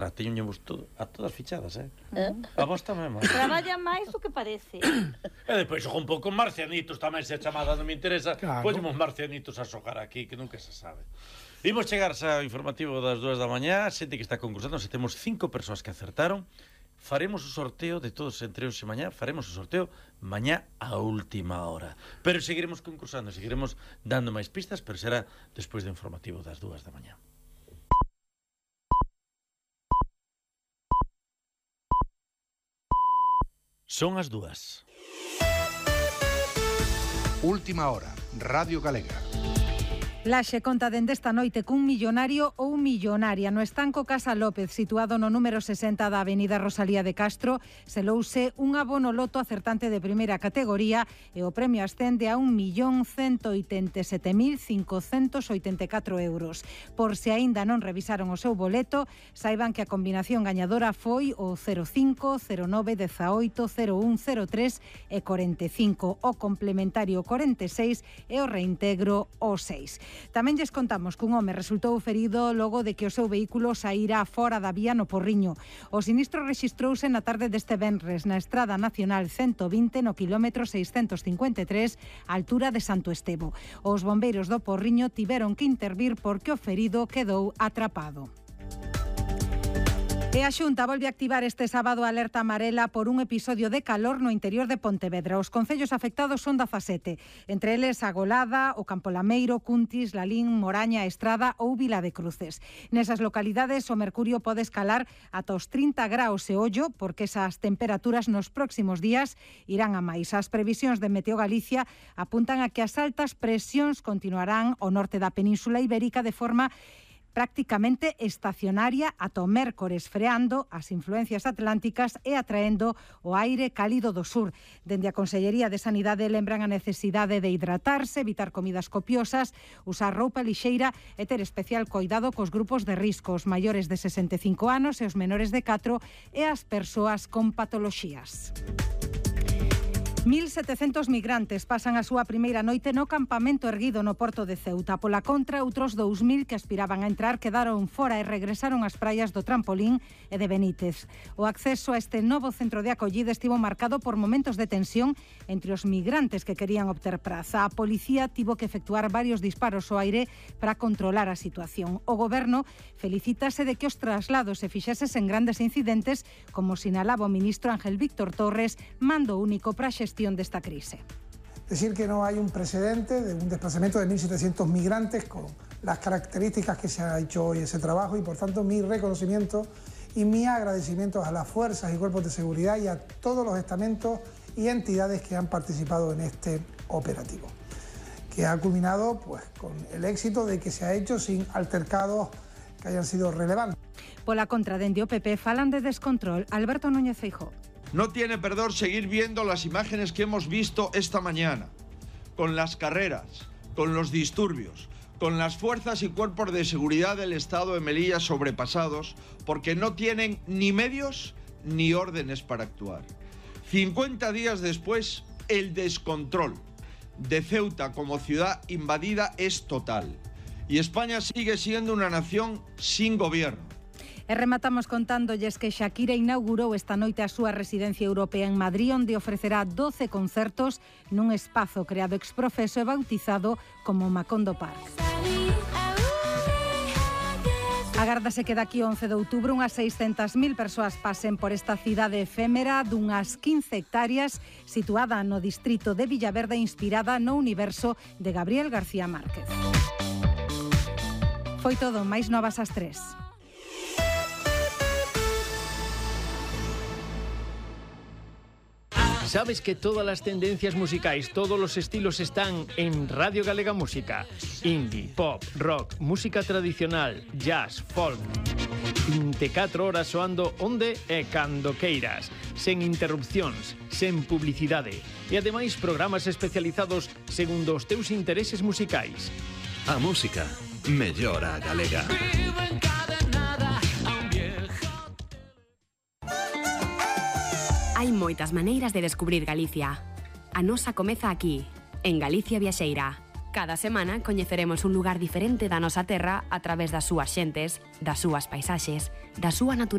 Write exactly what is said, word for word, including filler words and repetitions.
Teñoñemos todo, a todas fichadas, eh? eh? A vos tamén, Marcia. Traballa máis do que parece. E depois xogo un pouco marcianitos tamén, se a chamada non me interesa. Claro. Poñemos marcianitos a xogar aquí, que nunca se sabe. Imos chegar ao informativo das dúas da mañá. Xente que está concursando, se temos cinco persoas que acertaron. Faremos o sorteo de todos entre hoxe e mañá. Faremos o sorteo mañá a última hora. Pero seguiremos concursando, seguiremos dando máis pistas, pero será despois do informativo das dúas da mañá. Son as dúas. Última hora, Radio Galega. Laxe conta dende esta noite cun millonario ou millonaria no estanco Casa López, situado no número sesenta da avenida Rosalía de Castro. Selouse un abono loto acertante de primeira categoría e o premio ascende a un millón cento oitenta e sete mil cincocentos oitenta e catro euros. Por se aínda non revisaron o seu boleto, saiban que a combinación gañadora foi o cero cinco, cero nove, dezaoito, cero un, cero tres e corenta e cinco, o complementario corenta e seis e o reintegro o seis. Tamén lles contamos que un home resultou ferido logo de que o seu vehículo saíra fora da vía no Porriño. O sinistro rexistrouse na tarde deste venres na Estrada Nacional ciento vinte no quilómetro seiscentos cincuenta e tres, á altura de Santo Estevo. Os bombeiros do Porriño tiveron que intervir porque o ferido quedou atrapado. E a Xunta volve a activar este sábado a alerta amarela por un episodio de calor no interior de Pontevedra. Os concellos afectados son dezasete, entre eles a Golada, o Campo Lameiro, Cuntis, Lalín, Moraña, Estrada ou Vila de Cruces. Nesas localidades o mercurio pode escalar ata os trinta graus e ollo, porque esas temperaturas nos próximos días irán a máis. As previsións de Meteo Galicia apuntan a que as altas presións continuarán ao norte da Península Ibérica de forma prácticamente estacionaria ata o mércores, freando as influencias atlánticas e atraendo o aire cálido do sur. Dende a Consellería de Sanidade lembran a necesidade de hidratarse, evitar comidas copiosas, usar roupa lixeira e ter especial coidado cos grupos de risco, os maiores de sesenta e cinco anos e os menores de catro e as persoas con patoloxías. mil setecentos migrantes pasan a súa primeira noite no campamento erguido no porto de Ceuta. Pola contra, outros dous mil que aspiraban a entrar quedaron fora e regresaron ás praias do Trampolín e de Benítez. O acceso a este novo centro de acollida estivo marcado por momentos de tensión entre os migrantes que querían obter praza. A policía tivo que efectuar varios disparos ao aire para controlar a situación. O goberno felicítase de que os traslados se fixeses en grandes incidentes, como sinalaba o ministro Ángel Víctor Torres, mando único para a gestión de esta crisis. Decir que no hay un precedente de un desplazamiento de mil setecientos migrantes con las características que se ha hecho hoy ese trabajo y por tanto mi reconocimiento y mi agradecimiento a las fuerzas y cuerpos de seguridad y a todos los estamentos y entidades que han participado en este operativo, que ha culminado pues, con el éxito de que se ha hecho sin altercados que hayan sido relevantes. Pola contra, dende o P P falan de descontrol. Alberto Núñez Feijóo. No tiene perdón seguir viendo las imágenes que hemos visto esta mañana, con las carreras, con los disturbios, con las fuerzas y cuerpos de seguridad del Estado de Melilla sobrepasados, porque no tienen ni medios ni órdenes para actuar. cincuenta días después, el descontrol de Ceuta como ciudad invadida es total, y España sigue siendo una nación sin gobierno. E rematamos contándolles que Shakira inaugurou esta noite a súa residencia europea en Madrid, onde ofrecerá doce concertos nun espazo creado ex profeso e bautizado como Macondo Park. Agárdase que daqui once de outubro unhas seiscentas mil persoas pasen por esta cidade efémera dunhas quince hectáreas situada no distrito de Villaverde, inspirada no universo de Gabriel García Márquez. Foi todo, máis novas ás tres. ¿Sabes que todas las tendencias musicais, todos los estilos están en Radio Galega Música? Indie, pop, rock, música tradicional, jazz, folk. vinte e catro horas soando onde e cando queiras, sen interrupcións, sen publicidade e ademais programas especializados segundo os teus intereses musicais. A música mellora a galega. Hai moitas maneiras de descubrir Galicia. A nosa comeza aquí, en Galicia Viaxeira. Cada semana coñeceremos un lugar diferente da nosa terra a través das súas xentes, das súas paisaxes, da súa natureza.